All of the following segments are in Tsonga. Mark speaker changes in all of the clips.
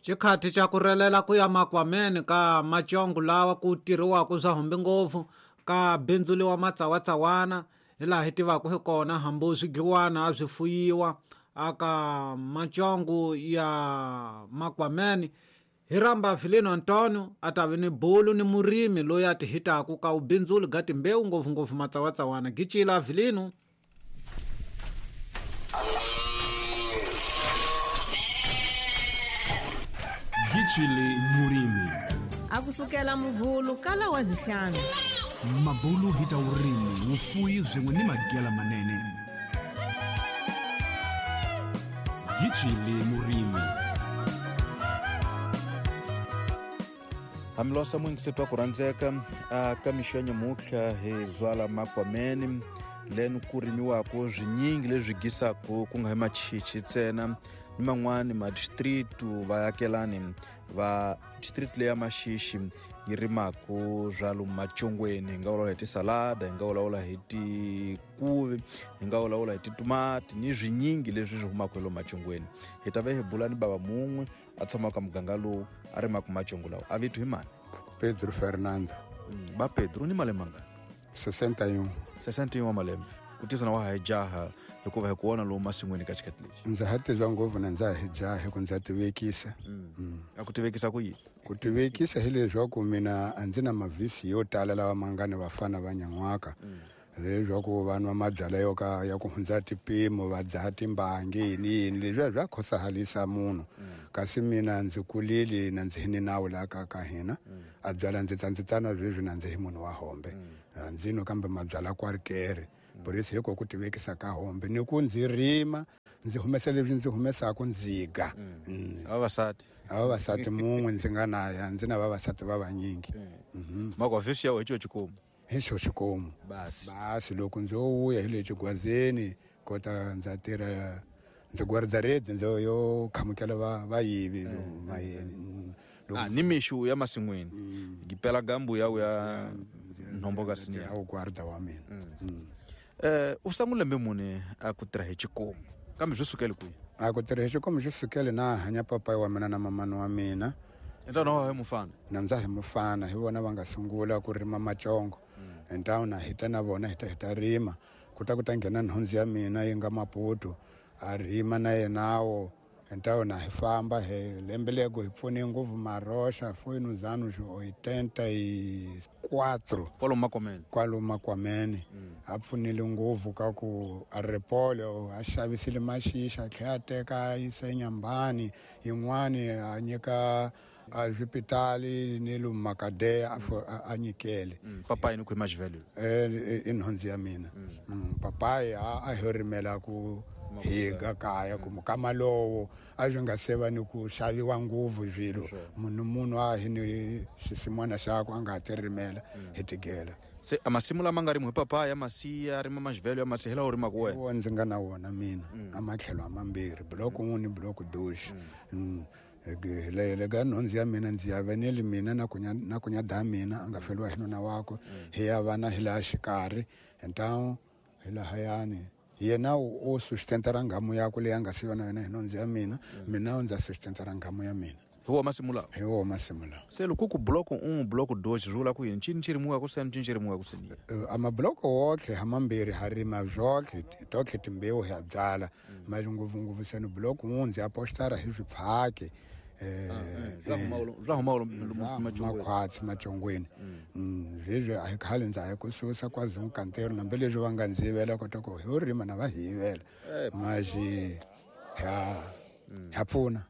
Speaker 1: Xikhathi xa ku relela ku ya makwameni ka macongo lawa ku tirhiwaka swa humbi ngopfu ka bindzuliwa matsawatsawana hi laha hi tivaka hi kona hambi swidliwana a swi fuyiwa aka macongo ya makwameni hi ramba Vilino Antonio a ta vi ni bulu ni murimi loyi a ti hitaku ka ubindzuli ga timbewu ngopfungopfu matsawatsawana gicila Vilino.
Speaker 2: Gicile murimi.
Speaker 3: Akusukela muvhulu kala wa zihlanu.
Speaker 2: Mabulu hi ta vurimi, vufuyi swin'we ni magela manene. Gicile murimi.
Speaker 4: Hambilosa mwingisetwa ku rhandzeka aka mixo ya nyamutlha hi zwala makwameni leni ku rimiwaka swinyingi leswi gisaku ku nga hi machichi ntsena ni man'wani madistritu vaakelani va district leya Maxixi yi rimaku swa lomu macongweni. Hi nga vulavula hi tisalada, hi nga vulavula hi tikuvi, hi nga vulavula hi titomati ni swinyingi leswi swi humaka hi lomu macongweni. Hi ta ve hi bula ni bava mun'we a tshamaka muganga lowu a rimaka macongo lawa. A vito hi mani?
Speaker 5: Pedro Fernando.
Speaker 4: Ba Pedro, ni malembe mangani?
Speaker 5: 61.
Speaker 4: 61 wa malembe. Ku tisa na wa ha hi jaha hikuva hi ku vona lomu masin'wini ka xikhathi lexi.
Speaker 5: Ndza ha tiva ngopfu na ndza ha hi jaha hi ku ndza tivekisa.
Speaker 4: A ku tivekisa ku yini?
Speaker 5: Ku tivekisa hileswaku mina a ndzi na mavhisi yo tala lawa ma nga ni vafana va nyan'waka. Leswaku va nwa mabyalwa yo ka ya ku hundza tipimo, va dzaha timbangi, yini yini, leswiya swa khosahalisa munhu. Kasi mina ndzi kulile na ndzi hi ni nawu laha ka hina. A byala ndzi ta ndzi tana sweswi na ndzi hi munhu wa hombe. A ndzi nwi kambe mabyalwa kwarikere. Borisi hiko ku tivekisa ka hombe ni ku ndzi rima ndzi humesa leswi ndzi humesaka ndzi ga.
Speaker 4: Vavasati.
Speaker 5: A vavasati mun'we ndzi nga na ya, ndzi na vavasati va vanyingi.
Speaker 4: Mako vhesi ya wena hi xikomu.
Speaker 5: Hi xo xikomu.
Speaker 4: Basi.
Speaker 5: Basi loko ndzo vuya hi le xigwazeni kota ndza tirha ndzi guarda red ndzo yo khamukela vayivi lomu mayeni. Loko
Speaker 4: Ni mixu ya masin'wini. Gipela gambu ya uya nhombo ka sinya.
Speaker 5: A wu guarda wa mina.
Speaker 4: U sungule lembe muni a ku tirha hi xikomu? Kambe swi sukele kwihi?
Speaker 5: A ku tirha hi xikomu swi sukele na hanya papayi wa mina na mamani wa mina.
Speaker 4: Ntwana wa hi mufana?
Speaker 5: Na ndza hi mufana, hi vona va nga sungula ku rima macongo. Ntwana hi ta na vona hi ta hi ta rima. Ku ta ku ta nghena nhundzu ya mina yi nga Maputo, a rima na yenawo. Ntwana hi famba hi lembe lego hi pfune ngopfu Maroxa, foi nos anos oitenta e quatro.
Speaker 4: Kwalomu Makwameni.
Speaker 5: Kwalomu Makwameni. A pfunile ngopfu ka ku a ripolo, a xavisile maxixa, a tlhela a teka a yisa eNyambani, yin'wani a nyika a swipitali ni lomu Makadeya a nyikele.
Speaker 4: Papayi ni khwema xivhele?
Speaker 5: I nhundzu ya mina. Papayi a hi rimela ku higa kaya ku mukama lowo a swi nga se va ni ku xaviwa ngopfu swilo. Munhu munhu a hi ni xisin'wana xakwe a nga ha ti rimela hi tigela.
Speaker 4: Se a masimu lama nga rimiwa hi papaya ya masiya, rima maxivhelo ya masiya, hi lawa u rimaka wena?
Speaker 5: Wo ndzi nga na wona mina. A matlhelo a mambirhi, block 1 ni block 2. Le ka nhundzu ya mina ndzi ya veneli mina na kunya, na kunya da mina a nga feriwa hi nuna wakwe. Hi ya vana hi laha xikarhi, ntawu hi lahayani. Yena u sustentara nghamu yakwe leyi a nga siyiwa na yona hi nhundzu ya mina, mina ndza sustentara nghamu ya mina.
Speaker 4: Hi wona masimu lawa?
Speaker 5: Hi wona masimu lawa.
Speaker 4: Se loko ku block 1, block 2 swi vula ku yini? Ncini xi rimiwaka seni, ncini xi rimiwaka seni?
Speaker 5: A mabloko wotlhe ha mambirhi ha rima zwotlhe, totlhe timbewu hi ya byala. Mali ngopfungopfu seni block 1 ndzi apostara hi swipfhaki.
Speaker 4: Swa huma lomu macongweni.
Speaker 5: Makhwatsi macongweni. Sweswi a hi khale ndza ha ku susa kwaZulu Kantero, nambi leswi va nga ndzi yivela kota ku hi rima na va hi yivela. Maxi ha pfuna.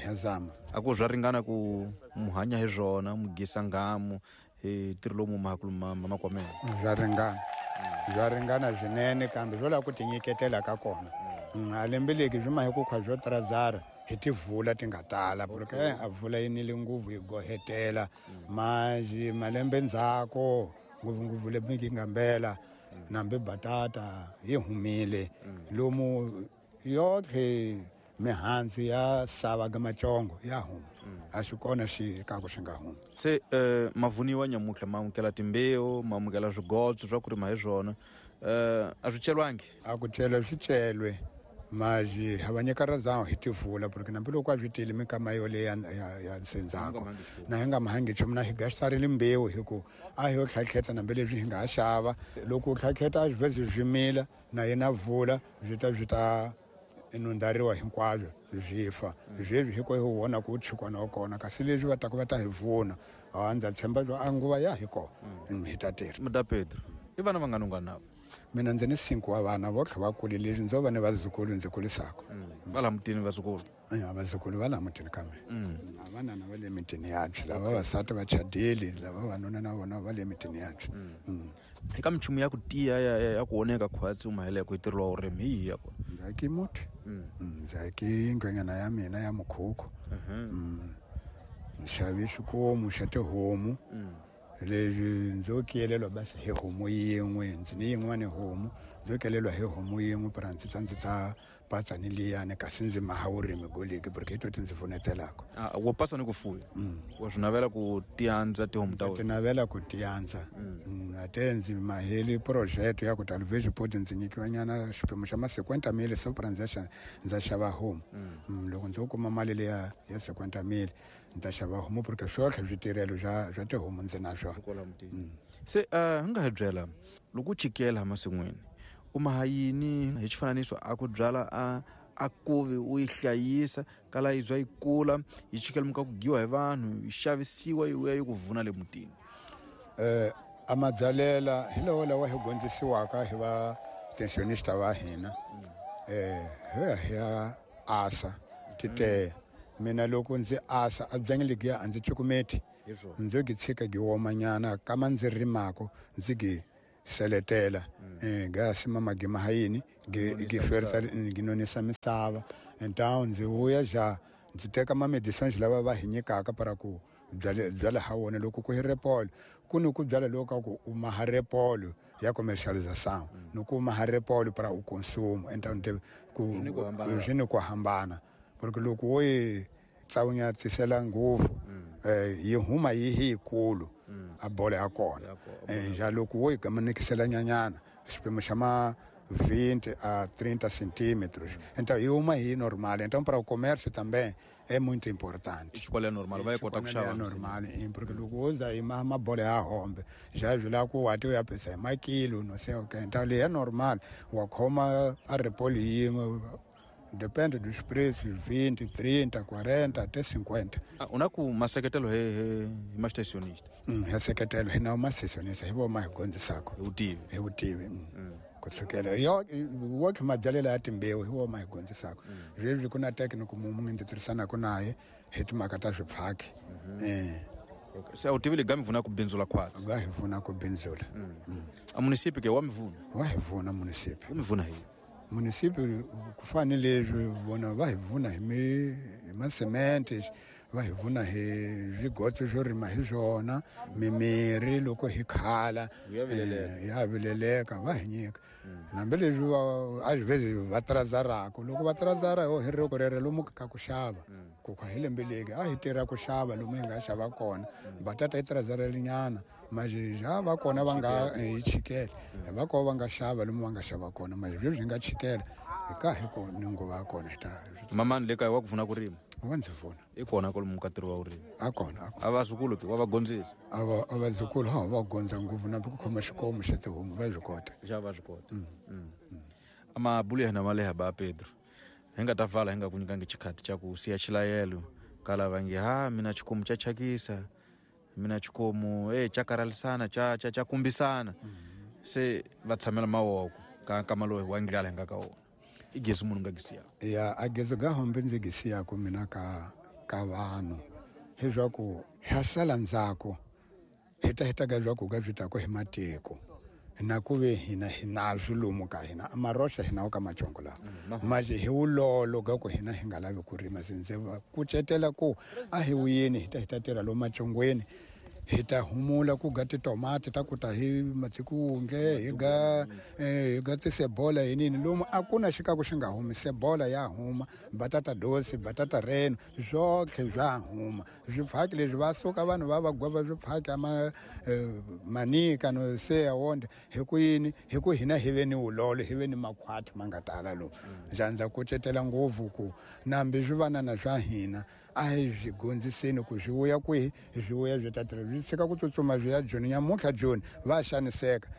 Speaker 5: Ha zama.
Speaker 4: A ku swa ringana ku mu hanya hi swona, mu gisa nghamu hi ntirho lowu mu mahakulu makwameni.
Speaker 5: Swa ringana. Swa ringana swinene kambe swo lava ku tinyiketela ka kona. A lembeleki swi ma hi ku khwa swo trazara hi tivula ti nga tala, porque a vula yi nile nguvu yi gohetela. Manjhe malembe ndzhaku ngopfungopfu lembe yi nga mbela nambi batata yi humile. Lomu yotlhe mihandzu ya sava ga macongo ya huma. A swi kona xi ka ku swi nga humi.
Speaker 4: Se mavuniwa nyamutlha ma amukela timbewu, ma amukela swigotso swa ku rima hi swona. A swi celwangi?
Speaker 5: A ku celwe, swi celwe. Mas ha va nyika razão hi tivula porque na mbilu kwa swi tile minkama yoleyo ya nsendzako na hi nga mahangi nchumu na hi gasarile mbewu hi ku a hi yo tlhatlheta nambi leswi hi nga ha xava loko u tlhatlheta a swi vhezi swi mila na yena vula swi ta nundhariwa hinkwaswo swi fa sweswi hi ko hi vona ku tshikwana wa kona kasi leswi va taka va ta hi vuna a ndza tshemba swa a nguva ya hi kona hi ta tirha.
Speaker 4: Muda Pedro, i vana vangani u nga navo?
Speaker 5: Mina ndzi ni 5 wa vana vo tlha va kule leswi ndzo va ni vazukulu ndzi kulisaka.
Speaker 4: Va laha mutini vazukulu?
Speaker 5: Vazukulu va laha mutini ka mina. Vanana va le mitini yabye, lava vavasati va chadile, lava vavanuna na vona va le mitini yabye.
Speaker 4: Eka minchumu ya ku tiya ya ku oneka khwatsi u mahele ku yi tirhiwa vurimi hi yihi ya kona?
Speaker 5: Ndzi aki muti. Ndzi aki nghwenyana ya mina ya mukhukhu. Ndzi xave xikomu xa tihomu. Leswi ndzo kelelwa basi hi homu yin'we, ndzi ni yin'wana homu, ndzo kelelwa hi homu yin'we para ndzi tsa patsa ni liyani kasi ndzi maha vurimi goleki porque hi to ti ndzi pfunetelaka.
Speaker 4: Wo pasa ni ku fuya? Wa swi navela ku tiandza tihomu ta wena?
Speaker 5: Ti navela ku tiandza. A te ndzi maheli project ya ku ta luvezi poti ndzi nyikiwa nyana xiphemu xa ma 50 mil so para ndza xava homu. Loko ndzo kuma mali liya ya 50 mil ndzi ta xava homu porque swotlhe switirhelo swa tihomu ndzi na swona.
Speaker 4: Se hi nga hi byela loko u chikela masin'wini u maha yini hi xifananiso a ku byala a kuvi u yi hlayisa kala yi zwa yi kula yi chikela muka ku giwa hi vanhu yi xavisiwa yi vuya yi ku vuna le mutini?
Speaker 5: A mabyalela hi lawa lawa hi dyondzisiwaka hi va pensionista va hina. Hi ya asa tite mina loko ndzi asa a byangi legiya a ndzi cukumeti ndzo gi tshika gi womanyana kama ndzi rimako ndzi gi seletela gasi mama gi mahayini gi ferisa gi nonisa misava então ndzi vuya ja ndzi teka ma medicines lava va hi nyikaka para ku byala ha wona loko ku hi repolo ku ni ku byala loko ka ku u maha repolo ya commercialisation ni ku maha repolo para u consumo então ku swi ni ku hambana porque loko wo yi tsawunyatisela ngopfu yi huma yi hi yikulu a bolo ya kona ja loko wo yi gamanekisela nyanyana xiphemu xa ma 20 a 30 centímetros então yi huma hi normal então para o comércio também é muito importante.
Speaker 4: Xikolo ya normal va yi kota ku xava
Speaker 5: normal porque loko wo za yi mabolo ya hombe ja swi lava ku wati u ya pesa hi makilo no sei o que então leyi ya normal wa khoma a repolo yin'we depende dos preços 20, 30, 40 até 50.
Speaker 4: U na ku maseketelo hi mastationista?
Speaker 5: Ya seketelo hi na mastationista hi vo ma hi dyondzisaka
Speaker 4: hi vutivi.
Speaker 5: Hi vutivi. Ku sukela yo wo tlhe mabyalela ya timbewu hi wo ma hi dyondzisaka. Sweswi ku na technical munhu ndzi tirhisanaka naye hi timhaka ta swipfhaki.
Speaker 4: Se a wu tivi leyi ga mi pfuna ku bindzula khwatsi?
Speaker 5: Ga hi pfuna ku bindzula.
Speaker 4: A munisipi ke wa mi pfuna?
Speaker 5: Wa hi pfuna munisipi.
Speaker 4: Wu mi pfuna hi?
Speaker 5: Munisipi ku fana ni leswi vona va hi pfuna hi masemente, va hi pfuna hi swigotso swo rima hi swona, mimirhi loko hi khala ya vileleka va hi nyika. Hambi leswi a swi vhezi va tirazaraka loko va tirazara ho hi roko rero lomu ka ku xava ku kha hi lembe leki a hi tirha ku xava lomu hi nga xava kona batata yi tirazarelinyana mazhi va kona va nga hi chikela va kona va nga xava lomu va nga xava kona mazhi sweswi hi nga chikela hi ka hi ko ni nguva ya kona hi ta.
Speaker 4: Mamani le kaya wa ku pfuna ku rima?
Speaker 5: Wa ndzi pfuna.
Speaker 4: I kona kwalomu ka ntirho wa vurimi?
Speaker 5: A kona.
Speaker 4: A vazukulu ke wa va gondzisa?
Speaker 5: A vazukulu ha va gondza ngopfu na ku khoma xikomu xa tihomu va swi kota.
Speaker 4: Xa va swi kota. Amabulu ya hina ma leha ba Pedro. Hi nga ta vala hi nga ku nyikangi xikhati xa ku siya xilayelo ka lava nge ha mina xikomu xa thyakisa mina xikomu xa karhalisana xa kumbisana se va tshamela mavoko ka nkama lowu wa ndlala hi nga ka wona. I gezi munhu nga gisiyaka?
Speaker 5: Ya a gezi ga hombe ndzi gisiyaka mina ka vanhu leswaku ha sala ndzhaku hi ta heta ka leswaku ka swi tako hi matiko na ku ve hina hi na swilomu ka hina a maroxa hina wo ka macongo lawa maje hi wulolo ga ku hina hi nga lavi ku rima se ndzi va kucetela ku a hi wuyeni hi ta tirha lomu macongweni Hi ta humula ku ga titomati ta ku ta hi matsikunge, hi ga hi ga tisebola hi nini lomu a ku na xikaku xi nga humi. Sebola ya huma, batata dosi, batata reno, swotlhe swa huma. Swifaki leswi va suka vanhu va va gwava swifaki ama manika no se ya wonde hi ku yini, hi ku hina hi ve ni wulolo, hi ve ni makhwati ma nga tala lomu. Ndza kucetela ngopfu ku nambi swivanana swa hina a hi swi gondziseni ku swi vuya kwihi, swi vuya swi ta tirha, swi tshika ku tsutsuma swi ya Joni. Nyamuntlha Joni va xaniseka,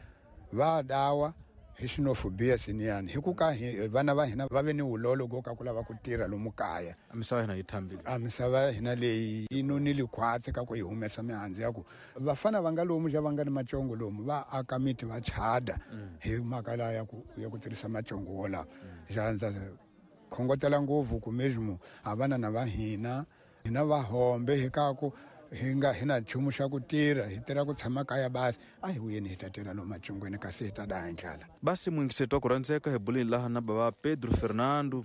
Speaker 5: va dawa hi xinofobia siniyani, hi ku ka vana va hina va ve ni wulolo go ka ku lava ku tirha lomu kaya.
Speaker 4: A misava hina yi thambile,
Speaker 5: a misava ya hina leyi yi nonile khwatsi ka ku yi humesa mihandzu ya ku vafana va nga lomu xa va nga ni macongo lomu va aka miti va chada hi mhaka laha ya ku tirhisa macongo wolawo. Ndza khongotela ngopfu ku mesmo a vanana va hina, hina va hombe hi ka ku hi nga hi na nchumu xa ku tirha, hi tirha ku tshama kaya basi, a hi vuyeni hi ta tirha lomu macongweni kasi hi ta daya ndlala.
Speaker 4: Basi muyingiseti wa ku rhandzeka, hi buleni laha na bava Pedro Fernando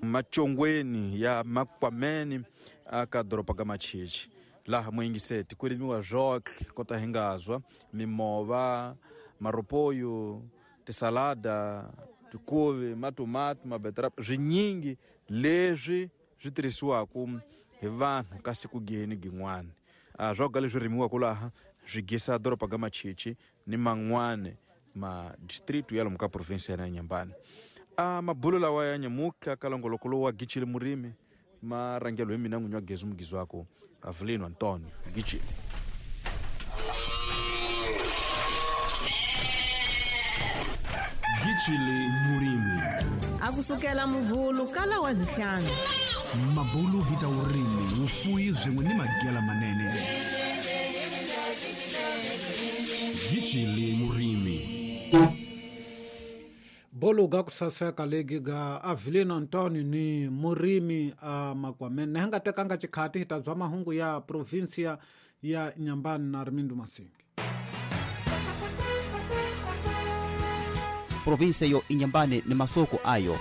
Speaker 4: macongweni ya Makwameni aka doroba ka Machichi. Laha muyingiseti ku rimiwa zwotlhe kota hi nga zwa mimova, maropoyo, tisalada, tikuvi, matomati, mabetrap, swinyingi leswi swi tirhisiwaka hi vanhu ka siku geni gin'wana. Swoga leswi rimiwaka laha swi gisa doroba ka Machichi ni man'wana ma district ya lomu ka province ya Inhambane. Mabulo lawa ya nyamuka ka longoloko lowu wa Gichile Murimi ma rhangelo hi mina n'winyi wa Gezi Mugizi wako Avelino Antonio Gichile.
Speaker 2: Gichile Murimi.
Speaker 3: A kusukela Muvhulu kala wa zihlanu.
Speaker 2: Mabulu hi ta vurimi, vufuwi swin'we ni magela manene. Gichile Murimi.
Speaker 1: Bolo ga ku saseka legi ga Avelino Antonio ni Murimi a Makwameni. Ni nga tekanga xikhati hi ta zwa mahungu ya provinsia ya Inhambane na Armindo Masingi.
Speaker 6: Provinsia yo Inhambane ni masoko ayo.